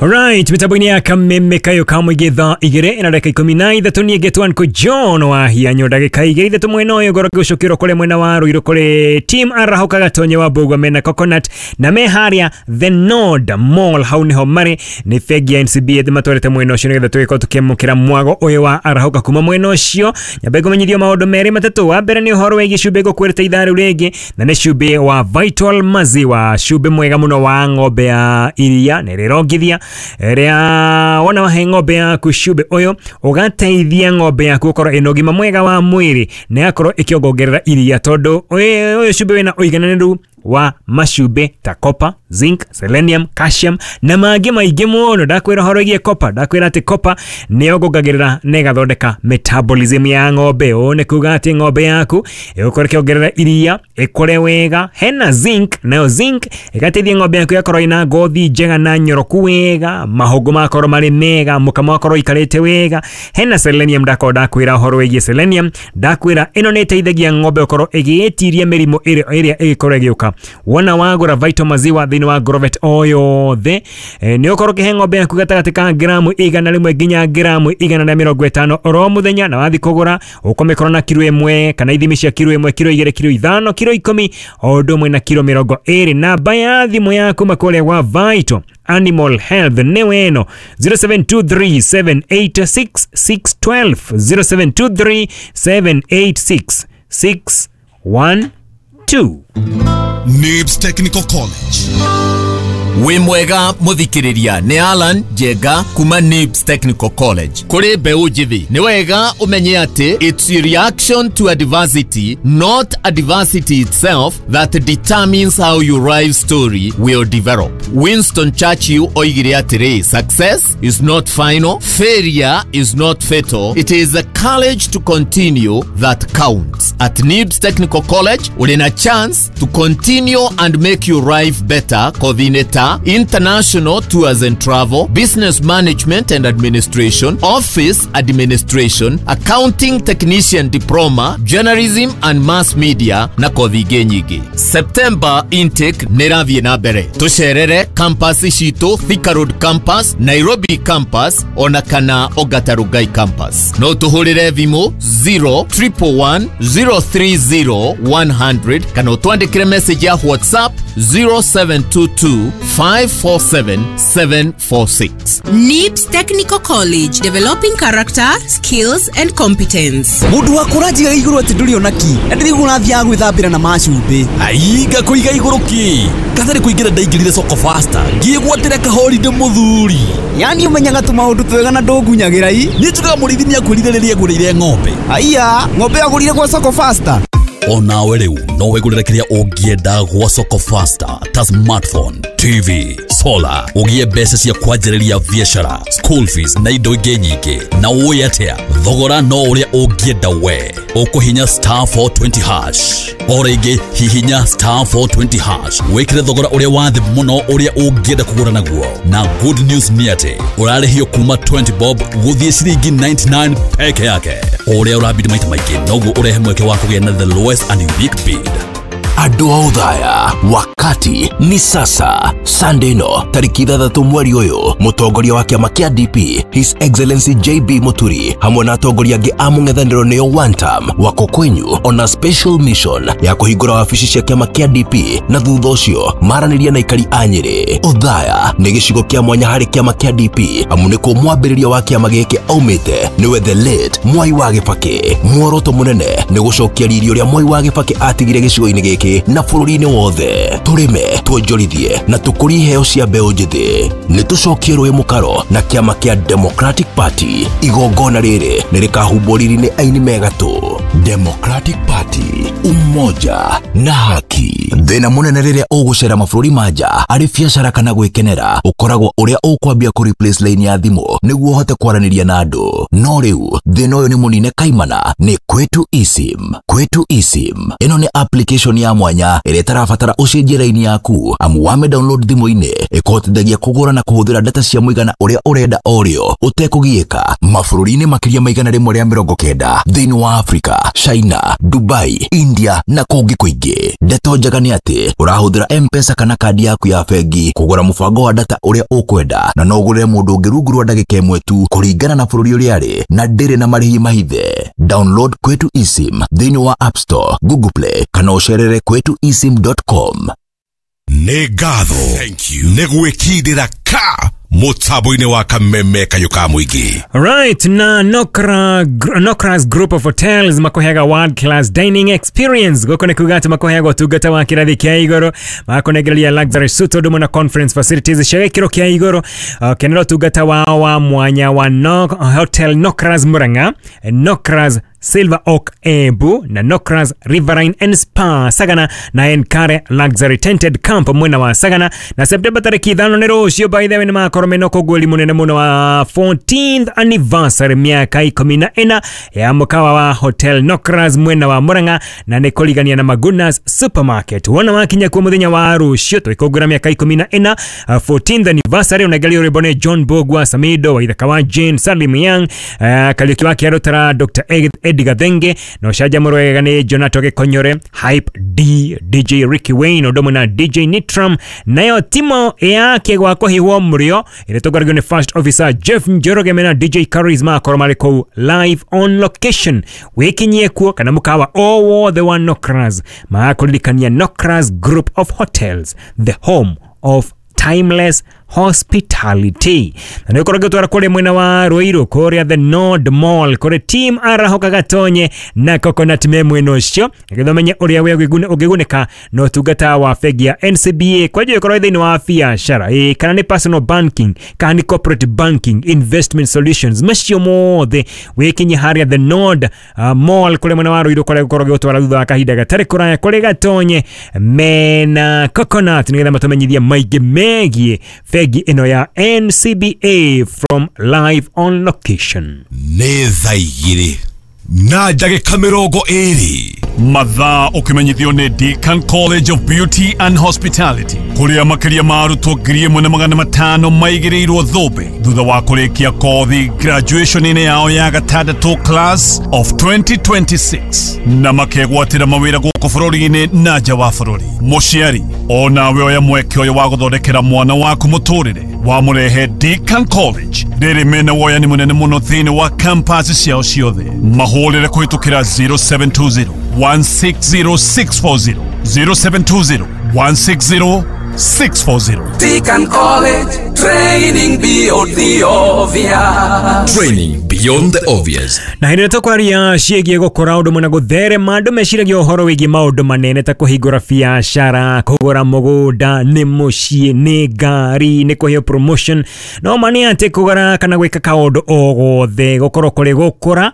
Alright, mitambo-inĩ ya kameme kayo ka mũingĩ thaa igĩrĩ na ndagĩka 13 niĩ ngetwo Uncle John wa hianyo ndagĩka igĩrĩ ithatũ mwena ũyũ ngorwo ngĩgũcũkĩrwo kũrĩa mwena wa Ruiru kũrĩ team arahũka gatonye wa Mbũgua mena Coconut na me harĩa The Nord Mall, hau nĩho marĩ. Nĩ bengi ya NCBA matwarĩte mwena ũcio nĩgetha tũgĩkorwo tũkĩamũkĩra mwago ũyũ wa arahũka kuma mwena ũcio. Nyambe ngũmenyithio maũndũ merĩ matatũ. Wa mbere nĩ ũhoro wĩgiĩ cumbĩ ngũkwĩrĩte ithaa rĩu rĩngĩ, na nĩ cumbĩ wa Vital Maziwa, cumbĩ mwega mũno wa ng'ombe ya iria na ĩrĩa ĩrongithia, ĩrĩa wona wahe ng'ombe yaku cumbĩ ũyũ ũgateithia ng'ombe yaku gũkorwo ĩna ũgima mwega wa mwĩrĩ na ĩgakorwo ĩkĩongongerera iria, tondũ ũyũ cumbĩ wĩna ũigananĩru wa macumbĩ ta copper, zinc, selenium, calcium na mangĩ maingĩ mũno. Ndakwĩra ũhoro wĩgiĩ copper, ndakwĩra atĩ copper nĩ yongongagĩrĩra na ĩgathondeka metabolism ya ng'ombe. Ũũ nĩ kuga atĩ ng'ombe yaku ĩgũkorwo ĩkĩongerera iria ĩkũre wega. Hena zinc, nayo zinc ĩgateithia ng'ombe yaku ĩgakorwo ĩna ngothi njega na nyoroku wega, mahũngũ magakorwo marĩ mega, mũkamo ũgakorwo ũikarĩte wega. Hena selenium, ndakorwo ndakwĩra ũhoro wĩgiĩ selenium, ndakwĩra ĩno nĩ ĩteithagia ng'ombe gũkorwo ĩgĩĩtiria mĩrimũ ĩrĩa ĩgĩkorwo ĩgĩũka. Wona wagũra Vital Maziwa thĩinĩ wa Grovet o yothe, nĩ ũkorwo ũkĩhe ng'ombe yaku gatagatĩ ka gramu 100 nginya gramu 150 oro mũthenya, na wathiĩ kũgũra ũkũmĩkorwo na kiro 1 kana ithimi cia kiro 1, kiro 2, kiro 5, kiro 10, o ũndũ ũmwe na kiro 20. Namba ya thimũ yaku kũrĩa gwa Vital Animal Health nĩ weno 0723786612, 0723786612. Nibs Technical College. Wĩ mwega mũthikĩrĩria, nĩ Alan Njenga kuma Nibs Technical College. Kũrĩ mbeũ njĩthĩ, nĩ wega ũmenye atĩ it's your reaction to adversity, not adversity itself, that determines how your life story will develop. Winston Churchill oigire atĩrĩ, success is not final, failure is not fatal, it is the courage to continue that counts. At Nibs Technical College, ũrĩ na chance to continue and make your life better kothi-inĩ ta international tours and travel, business management and administration, office administration, accounting technician diploma, journalism and mass media na kothi ingĩ nyingĩ. September intake nĩ ĩrathiĩ na mbere. Tũcerere campus citũ, Thika Road campus, Nairobi campus ona kana Ongata Rongai campus. No tũhũrĩre thimũ 0 111 030 100 kana ũtwandĩkĩre message ya WhatsApp 0722 547 746. NIBS Technical College, developing character, skills and competence. Mũndũ wa kũranjiga igũrũ atĩ ndũrĩ ona ki na ndĩrĩguo ũrathiaga gwĩthambĩra na macumbĩ. Ai, ngakũiga igũrũ ki katarĩ kũingĩra, ndaingĩrire Soko Fasta ngĩgwatĩra kahorinde mũthuri. Yani ũmenyaga tũmaũndũ twega na ndũngunyagĩra i. Niĩ njugaga mũrĩithi nĩakwĩrire rĩrĩa ngũrĩire ng'ombe. Aiya, ng'ombe yagũrire gwa Soko Fasta? Onawe rĩu no wĩgũrĩre kĩrĩa ũngĩenda gwa Soko Fasta ta smartphone, TV, solar, ũgĩe mbeca cia kwanjĩrĩria biacara, school fees na indo ingĩ nyingĩ. Na ũĩ atĩa, thogora no ũrĩa ũngĩenda we. Ũkũhinya *420#. O rĩngĩ hihinya *420# wĩkĩre thogora ũrĩa wa thĩ mũno ũrĩa ũngĩenda kũgũra naguo. Na good news nĩ atĩ ũrarĩhio kuma 20 bob gũthiĩ ciringi 99 peke yake. O ũrĩa ũrabidi maita maingĩ noguo ũrehe mweke wa kũgĩa na the lowest and unique bid. Andũ a Othaya, wakati ni sasa. Sunday no tariki 6 mweri ũyũ, mũtongoria wa kĩama kĩa DP His Excellency JB Muturi hamwe na atongoria angĩ a mũng'ethanĩro nĩo one term wako kwenyu on a special mission ya kũhingũra wabici cia kĩama kĩa DP na thutha ũcio maranĩria na aikari a Nyĩrĩ. Othaya nĩ gĩcigo kĩa mwanya harĩ kĩama kĩa DP amu nĩkuo mwambĩrĩria wa kĩama gĩkĩ aumĩte, nĩwe the late Mwai wa Kibaki. Muoroto mũnene nĩ gũcokia riri ũrĩa Mwai wa Kibaki atigire gĩcigo-inĩ gĩkĩ na bũrũri-inĩ wothe. Tũrĩme, tuonjorithie na tũkũrie iheo cia mbeũ njĩthĩ. Nĩ tũcokie rũĩ mũkaro na kĩama kĩa Democratic Party. Igongona rĩrĩ nĩ rĩkahumbwo riri nĩ aini megatũ. Democratic Party, umoja na haki. Thĩna mũnene rĩrĩa ũgũcera mabũrũri ma nja arĩ biacara kana gwĩkenera ũkoragwo ũrĩa ũkwambia kũ replace line ya thimũ nĩguo ũhote kwaranĩria na andũ. No rĩu thĩna ũyũ nĩ mũnine kaimana nĩ Kwetu eSIM. Kwetu eSIM ĩno nĩ application ya mwanya ĩrĩa ĩtarabatara ũcenjie raini yaku amu wame download thimũ-inĩ ĩkũhotithagia kũgũra na kũhũthĩra data cia mũigana ũrĩa ũrenda o rĩo ũtekũgiĩka mabũrũri-inĩ makĩria ma 190 thĩinĩ wa Afrika, China, Dubai, India na kũngĩ kũingĩ. Ndeto njega nĩ atĩ ũrahũthĩra M-Pesa kana kandi yaku ya bengi kũgũra mũbango wa data ũrĩa ũkwenda na no ũgũrĩre mũndũ ũngĩ rungu rwa ndagĩka ĩmwe tu kũringana na bũrũri ũrĩa arĩ na ndĩrĩ na marĩhi mahithe. Download Kwetu eSIM thĩinĩ wa App Store, Google Play kana ũcerere kwetuesim.com. Nĩ ngatho nĩ gwĩkindĩra ka mũtambo-inĩ wa kameme kayũ ka mũingĩ. Right, na Nokras Group of Hotels makoheaga world class dining experience. Gũkũ nĩ kuga atĩ makoheaga ũtungata wa kĩrathi kĩa igũrũ, makũnengereria luxury suite ũndũ ũmwe na conference facilities cia gĩkĩro kĩa igũrũ. Kenera ũtungata wao wa mwanya wa Hotel Nokras Murang'a, Nokras Silver Oak Embu na Nokras Riverine and Spa Sagana na Enkare Luxury Tented Camp mwena wa Sagana. Na Septemba tarĩki 5 nĩ rũciũ, by the way, nĩ makorwo mena ũkũngũĩri mũnene mũno wa 14th anniversary, mĩaka 14 ya mũkawa wa Hotel Nokras mwena wa Murang'a, na nĩ kũrigania na Magunas Supermarket. Wona wakinya kuo mũthenya wa rũciũ tũgĩkũngũĩra mĩaka 14, 14th anniversary, ũnengerio rwĩmbo nĩ John Bogwa, Samido wa Ithaka wa Jane, Salim Young, Kariũki wa Kĩarũtara, Dr. Eddie Gathenge, na ũcanjamũrwo wega nĩ Jonato Gĩkonyore, Hype D, DJ Ricky Wayne, ũndũ ũmwe na DJ Nitram, nayo timo yake gwa kũhihwo mũrĩo ĩrĩa ĩtongoragio nĩ First Officer Jeff Njoroge mena DJ Charisma akorwo marĩ kũu live on location. Wĩkinyie kuo kana mũkawa o wothe wa Nokras, magakũririkania Nokras Group of Hotels, the home of timeless hospitality. Na nĩ ũkorwo ngĩtwara kũrĩa mwena wa Ruiru, kũrĩa The Nord Mall, kũrĩ team Arahoka Gatonye na Coconut me mwena ũcio, nĩgetha ũmenye ũrĩa we ũngĩgunĩka na ũtungata wa bengi ya NCBA kwa njĩra ĩkorwo thĩinĩ wa biacara, kana nĩ personal banking, kana nĩ corporate banking, investment solutions, macio mothe wĩkinye harĩa The Nord Mall kũrĩa mwena wa Ruiru, kũrĩa gũkorwo gĩgũtwara thutha wa kahinda gatarĩ kũraya kũrĩ Gatonye mena Coconut, nĩgetha matũmenyithie maingĩ megiĩ bengi ĩno ya NCBA from live on location. Nĩ thaa 2 na ndagĩka 20. Mathaa ũkĩmenyithio nĩ Deakin College of Beauty and Hospitality kũrĩa makĩria ma arutwo 1500 maigĩrĩirwo thũmbĩ thutha wa kũrĩkia kothi graduation-inĩ yao ya gatandatũ class of 2026 na makegwatĩra mawĩra gũkũ bũrũri-inĩ na nja wa bũrũri. Mũciari onawe oya mweke ũyũ wa gũthondekera mwana waku mũtũrĩre wamũrehe Deakin College rĩrĩ mena woyani mũnene mũno thĩinĩ wa campus ciao ciothe. Mahũrĩre kũhĩtũkĩra 0720 160640 0720 160640. Deakin College, training beyond the obvious. Training beyond the obvious. Na hĩndĩ ĩrĩa tũkwaria ciĩgiĩ gũkũra ũndũ mũna gũtherema, andũ meciragia ũhoro wĩgiĩ maũndũ manene ta kũhingũra biacara, kũgũra mũgũnda, nĩ mũciĩ, nĩ ngari, nĩ kũheo promotion. No ma nĩ atĩ kũgũra kana gwĩka kaũndũ o gothe gũkorwo kũrĩ gũkũra,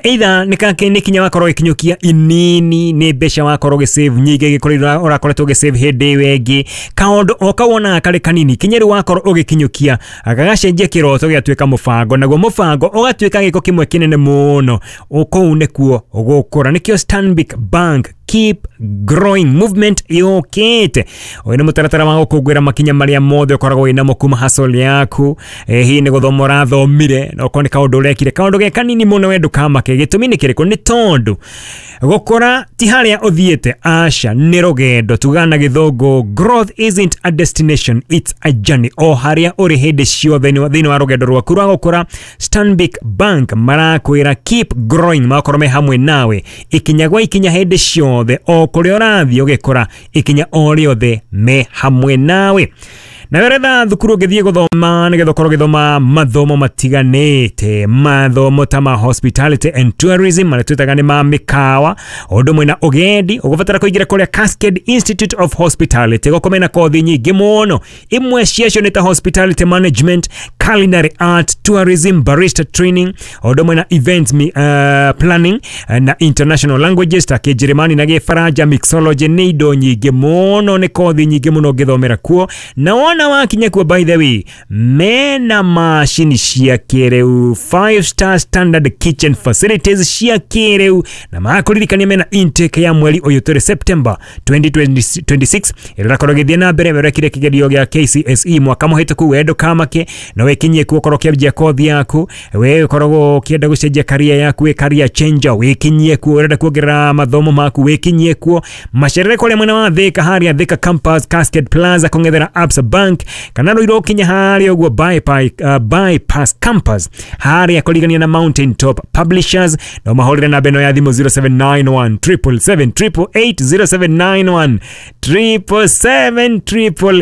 either nĩ kinya wakorwo ũgĩkinyũkia inini, nĩ mbeca wakorwo ũgĩsave nyingĩ gĩkorwo ũrakoretwo ũgĩsave hĩndĩ ĩyo ĩngĩ, kaũndũ o kau wonaga karĩ kanini kinya rĩu wakorwo ũgĩkinyũkia gagacenjia kĩroto gĩgatuĩka mũbango, naguo mũbango ũgatuĩka gĩko kĩmwe kĩnene mũno. Kũu nĩkuo gũkũra. Nĩkĩo Stanbic Bank Keep Growing Movement yũkĩte. Ũyũ nĩ mũtaratara wa gũkũngũĩra makinya marĩa mothe ũkoragwo wĩnamo kuma hustle yaku. Hihi nĩ gũthoma ũrathomire, na okorwo nĩ kaũndũ ũrekire, kaũndũ ge kanini mũno we ndũkamake. Gĩtũmi nĩ kĩrĩkũ? Nĩ tondũ gũkũra ti harĩa ũthiĩte, aca, nĩ rũgendo. Tugaga na gĩthũngũ, growth isn't a destination, it's a journey. O harĩa ũrĩ hĩndĩ ciothe thĩinĩ wa rũgendo rwaku rwa gũkũra, Stanbic Bank marakwĩra keep growing, magakorwo me hamwe nawe ikinya gwa ikinya hĩndĩ ciothe, o kũrĩa ũrathiĩ ũgĩkũra, ikinya o rĩothe me hamwe nawe. Na weretha thukuru ũngĩthiĩ gũthoma nĩgetha ũkorwo ũgĩthoma mathomo matiganĩte, mathomo ta ma hospitality and tourism marĩa twĩtaga nĩ ma mĩkawa, ũndũ ũmwe na ũgendi, ũgũbatara kũingĩra kũrĩa Cascade Institute of Hospitality. Gũkũ mena kothi nyingĩ mũno, imwe ciacio nĩ ta hospitality management, culinary art, tourism, barista training, ũndũ ũmwe na event planning na international languages ta Kĩnjĩrĩmani na Gĩbaranja, mixology. Nĩ indo nyingĩ mũno, nĩ kothi nyingĩ mũno ũngĩthomera kuo. Na wona Wona wakinya kuo, by the way, mena macini cia kĩrĩu, 5 star standard kitchen facilities cia kĩrĩu, na makũririkania mena intake ya mweri ũyũ tũrĩ, September 2026, ĩrĩa ĩrakorwo ĩgĩthiĩ na mbere. Werekire kĩgerio gĩa KCSE mwaka mũhĩtũku, we ndũkamake, no wĩkinyie kuo ũkorwo ũkĩanjia kothi yaku. We ũkoragwo ũkĩenda gũcenjia career yaku, wĩ career changer, wĩkinyie kuo. Ũrenda kuongerera mathomo maku, wĩkinyie kuo. Macerere kũrĩa mwena wa Thika, harĩa Thika Campus, Cascade Plaza, kũng'ethera Absa Bank, kana Ruiru ũkinya harĩa ũguo Bypass Campus, harĩa kũrigania na Mountain Top Publishers. No mahũrĩre namba ĩno ya thimũ, 0791 777 888, 0791 777.